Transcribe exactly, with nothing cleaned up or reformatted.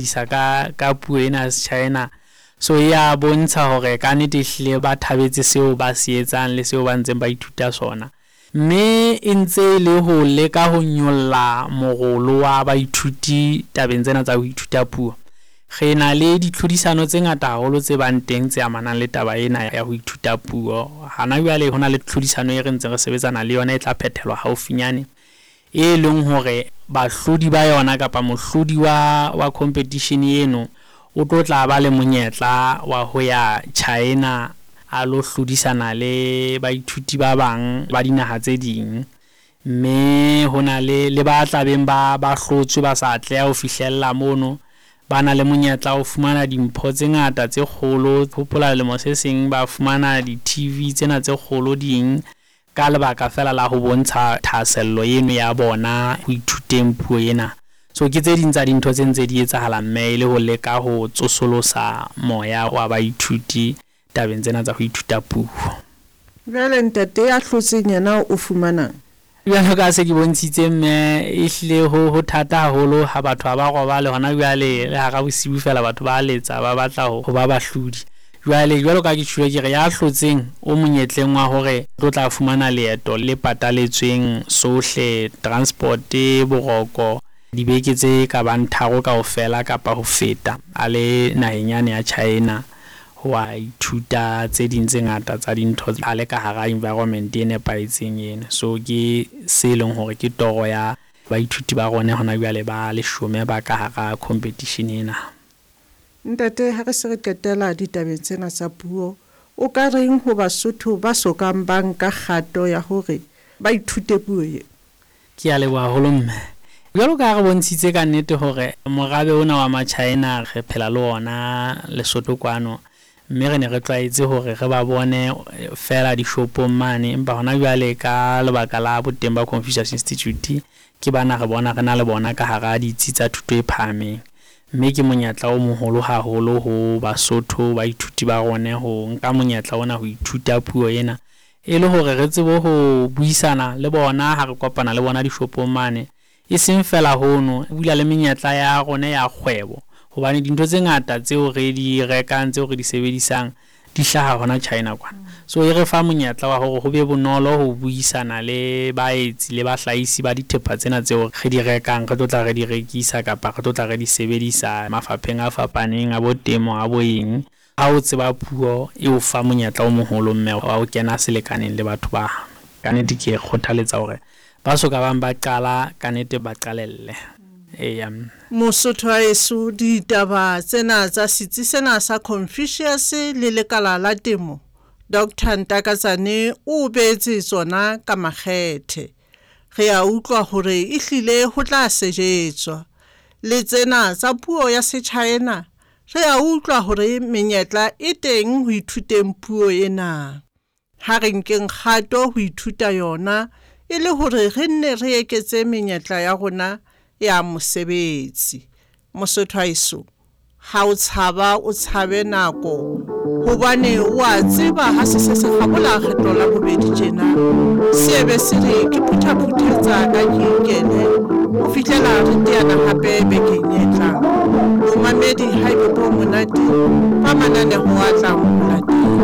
Isa ka ka puo ena ya Sechina. So e ya bontsha hore ka nnete ehlile ba thabetse seo ba se etsang le seo ba ntseng ba ithuta sona. Mme e ntse e le ho leka ho nyolla morolo wa baithuti tabeng tsena tsa ho ithuta puo. Re na le ditlhodisano tse ngata haholo tse bang teng tse amanang le taba ena ya ho ithuta puo. Hana jwale hona le tlhodisano e re ntseng re sebetsana le yona e tla phethelwa haufinyane, e leng hore bahlodi ba yona kapa mohlodi wa wa competition eno o tlo tla ba le monyetla wa ho ya China a lo hlodisana le baithuti ba bang ba dinaha tse ding. Mme hona le le ba tlabeng ba ba hlotswe ba sa atleha ho fihlella mono, ba na le monyetla wa ho fumana dimpho tse ngata tse kgolo. Hopola lemo se seng ba fumana di-T V tsena tse kgolo ding ka lebaka fela la ho bontsha thahasello eno ya bona ho ithuteng puo ena. So ke tse ding tsa dintho tse ntse di etsahala mme e le ho leka ho tsosolosa moya wa baithuti tabeng tsena tsa ho ithuta puo. Jwale ntate ya hlotseng yena o fumanang? Jwalo ka se ke bontshitse mme, ehlile ho ho thata haholo ha batho ha ba robale hona jwale le hara bosiu fela batho ba letsa ba batla ho ba bahlodi. Jwale jwalo ka ke tjhuwe ke re ya hlotseng o monyetleng wa hore tlo tla fumana leeto le pataletsweng sohle, transport, boroko, dibeke tse ka bang tharo kaofela kapa ho feta a le naheng yane ya China ho a ithuta tse ding tse ngata tsa dintho a le ka hara environment e nepahetseng ena. So ke se leng hore ke toro ya baithuti ba rona hona jwale ba leshome ba ka hara competition ena. Ntate, ha re se re qetela ditabeng tsena tsa puo, o ka reng ho Basotho ba sokang ba nka kgato ya hore ba ithute puo e? Ke a leboha haholo mme. Jwalo ka ha re bontshitse ka nnete hore morabe ona wa Machina re phela le ona Lesotho kwano, mme re ne re tlwaetse hore re ba bone fela dishopong mane, empa hona jwale ka lebaka la boteng ba Confucius Institute ke bana re bona re na le bona ka hara ditsi tsa thuto e phahameng. Mme ke monyetla o moholo haholo ho Basotho baithuti ba rona ho nka monyetla ona ho ithuta puo ena, e le hore re tsebe ho buisana le bona ha re kopana le bona dishopong mane. E seng fela hono, e bula le menyetla ya rona ya kgwebo, hobane dintho tse ngata tseo re di rekang tseo re di sebedisang di hlaha hona China kwana. So e re fa monyetla wa hore ho be bonolo ho buisana le baetsi le bahlahisi ba dithepa tsena tseo re di rekang, re tlo tla re di rekisa kapa re tlo tla re di sebedisa mafapheng a fapaneng a bo temo a bo eng. Ha o tseba puo e o fa monyetla o moholo mme wa ho kena selekaneng le batho ba. Ka nnete ke kgothaletsa hore ba soka bang ba qala, ka nnete ba qalelle. Eya. Mosotho wa heso, ditaba tsena tsa setsi sena sa Confucius le lekala la temo, Doctor Ntakatsane o beetse tsona ka makgethe. Re a utlwa hore ehlile ho tla sejetswa. Le tsena tsa puo ya Sechina, re a utlwa hore menyetla e teng ho ithuteng puo ena. Ha re nkeng kgato ho ithuta yona e le hore re nne re eketse menyetla ya rona ya mosebetsi. Mosotho wa heso, ha o tshaba o tshabe nako, hobane o a tseba ha se se se kgabola kgetlo la bobedi tjena, se be se re ke phuthaphuthetsa ka ke ikele ho fihlela re teana hape bekeng e tlang. Momamedi ha ebe bo monate ba mananeho a tlang ho latela.